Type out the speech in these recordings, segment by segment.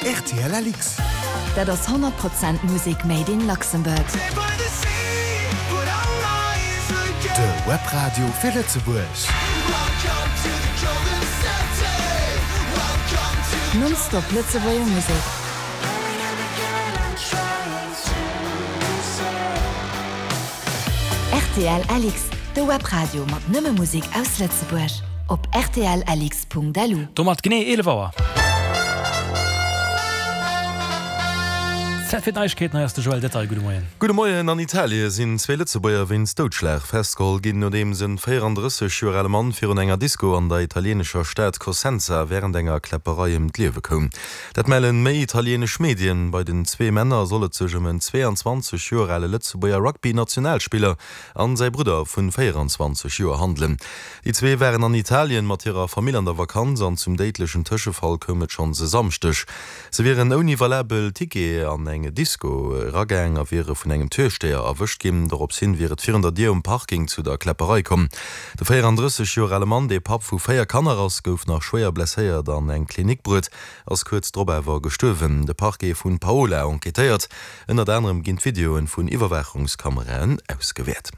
Rtl LX. Dat ass 100 Prozent Musek made in Luxembourg. De Webradio fir Lëtzebuerg. Non-stop Lëtzebuerger Musek. Rtl LX, de Webradio mat nëmme Musek aus Lëtzebuerg. Op rtlx.lu. Domat genee 11 Auer. Zäit fir d'Neiegkeeten, hei ass de Joël Detaille. Gudde Moien. Gudde Moien. An Italie sinn zwee Lëtzebuerger wéinst Doudschlag festgeholl ginn, nodeems en 34 Joer ale Mann virun enger Disco an der italieenescher Stad Cosenza wärend enger Kläpperei ëm d'Liewe koum. Dat mellen méi italieenesch Medien. Bei den zwee Männer soll et sech ëm en 22 Joer ale Lëtzebuerger Rugby-Nationalspiller an säi Brudder vun 24 Joer handelen. Déi zwee waren an Italien mat hirer Famill an der Vakanz an zum déidlechen Tëschefall koum et schonns e Samschdeg. Se wieren ouni valabel Ticket an eng Disco eragaang a wiere vun engem Türsteher erwëscht ginn. Dorops hin wier et virun der Dier um Parking zu der Kläpperei komm. De 34 Joer ale Mann, dee Papp vu 4 Kanner ass, gouf nach schwéier blesséiert an eng Klinik bruet, ass kuerz drop awer gestuerwen. De Parquet vun Paola enquêtéiert. Ënnert anerem ginn d'Videoen vun Iwwerwaachungskameraen ausgewäert.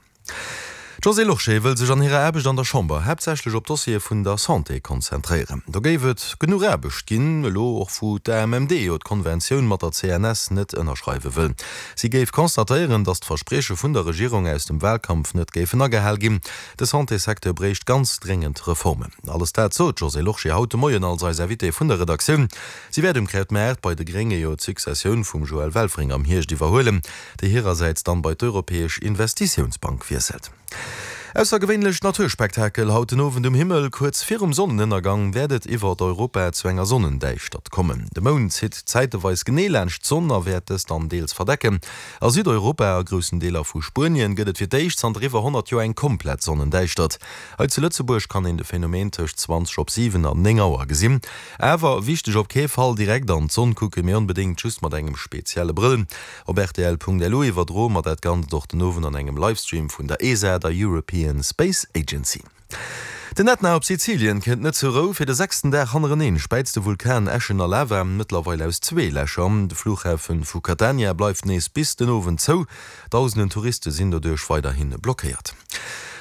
D'Josée Lorsché wëll sech an hirer Aarbecht an der Chamber haaptsächlech op d'Dossiere vun der Santé konzentréieren. Do géif et genuch Aarbecht ginn, elo och wou d'AMMD jo d'Konventioun mat der CNS net ënnerschreiwe wëll. Si géif constatéieren, datt d'Versprieche vun der Regierung aus dem Walkampf net géifen agehal ginn. De Santésecteur bréicht ganz dréngend Reformen. Alles dat sot d'Josée Lorsché haut de Moien als eis Invitée vun der Redaktioun. Si wäert um Krautmaart bei de Grénge jo d'Successioun vum Joël Welfring am Hierscht iwwerhuelen, déi hirersäits dann bei d'Europäesch Investitiounsbank wiesselt. Aussergewéinlecht Naturspektakel haut den Owend um Himmel, Kuerz virum Sonnenënnergang wäert et iwwert Europa zu enger Sonnendäischtert kommen. De Mound zitt zäiteweis genee laanscht d'Sonn a wäert dës dann deels verdecken. A Südeuropa a groussen Deeler vu Spuenien gëtt et fir d'éischt zanter iwwer 100 Joer eng komplett Sonnendäischtert. Hei zu Lëtzebuerg kann een de Phänomen tëscht 20 op 7 an 9 Auer gesinn. Awer wichteg, op kee Fall direkt an d'Sonn kucken, mee onbedéngt just mat engem spezielle Brëll. Op rtl.lu iwwerdroe mer dat Ganzt och den Owend an engem Livestream vun der ESA, der European Space Agency. Den Ätna op Sizilien kënnt net zur Rou. Fir de sechsten Dag hannereneen späizt de Vulkan Äschen a Lava, mëttlerweil aus zwee Lächer. De Flughafe vu Catania bleift nees bis den Owend zou. Dausenden Touriste sinn doduerch weiderhi blockéiert.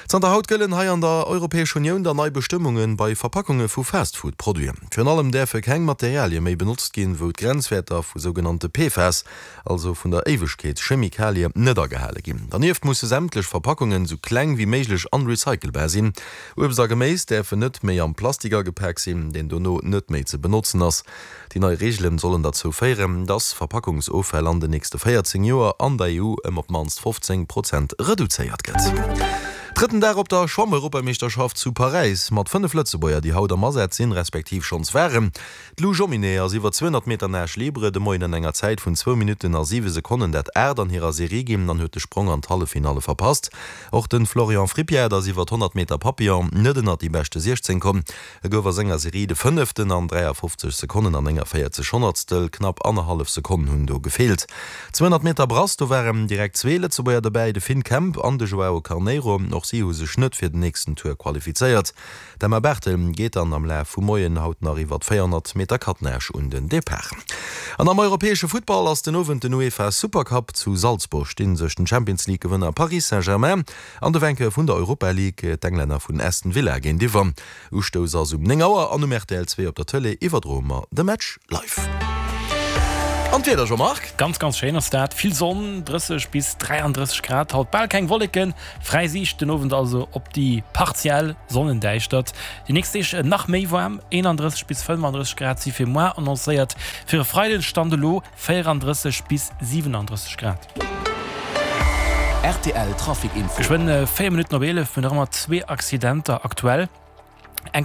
Zanter haut gëllen hei an der Europäesch Unioun dann nei Bestëmmunge bei Verpackunge vu Fastfood-Produiten. Virun allem däerfe keng Materialie méi benotzt ginn, wou d'Grenzwäerter vu sougenannte PFAS, also vun der Éiwegkeetschemikalie, net agehale ginn. Dernieft musse sämtlech Verpackungen sou kleng wéi méiglech an recycelbar sinn. Uebst a Geméis däerfen net méi am Plastik agepak sinn, deen dono net méi ze benotzen ass. Déi nei Reegelen sollen derzou féieren, dass Verpackungsoffäll an den nächste 14 Joer an der EU ëm op d'mannst 15 Prozent reduzéiert gëtt. Drëtten Dag op der Schwammeuropameeschterschaft zu Paräis mat 5 Lëtzebuerger, déi haut am Asaz sinn, respektiv schonns waren. D'Lou Jomminet ass iwwer 200 Meter Nage libre de Moien an enger Zäit vun zwou Minutten a siwe Sekonnen dat aacht an hirer Serie ginn an huet de Sprong an d'Halleffinalle verpasst. Och de Florian Frippiat ass iwwer 100 Meter Papillon net ënnert déi beschte 16 komm. E gouf a senger Serie de Fënneften an 53 Sekonnen an 49 Honnertstel. Knapp annerhallef Sekonn hunn do gefeelt. 200 Meter Brass, do waren direkt zwee Lëtzebuerger dobäi, de Finn Kemp an de Joao Carneiro. Och si hu sech net fir den nächsten Tour qualifizéiert. D'Emma Barthel geet dann am Laf vum Moien haut nach iwwer 400 Meter Catenage un den Depart. An am europäesche Futtball ass den Owend den UEFA Supercup. Zu Salzburg sti sech den Champions League Gewënner Paris Saint-Germain an de Vainqueur vun der Europa League, d'Englänner vun Aston Villa géintiwwer. Ustouss ass um 9 Auer an um rtl 2 op der Tëlee iwwerdroe mer de Match live. An d'Wieder, Jean-Marc? Ganz ganz schéin ass dat, vill Sonn, 30 bis 33 Grad haut, bal keng Wolleken, Fräi Siicht den Owend also op déi partiell Sonnendäischtert. Déi nächst Deeg nach méi waarm, 31 bis 35 Grad si fir moar annoncéiert, fir e Freiden Stand elo 34 bis 37 Grad. Rtl Trafic Info. Geschwënn 4 Minutten op 11, mir hunn nach ëmmer zwee Accidenter aktuell.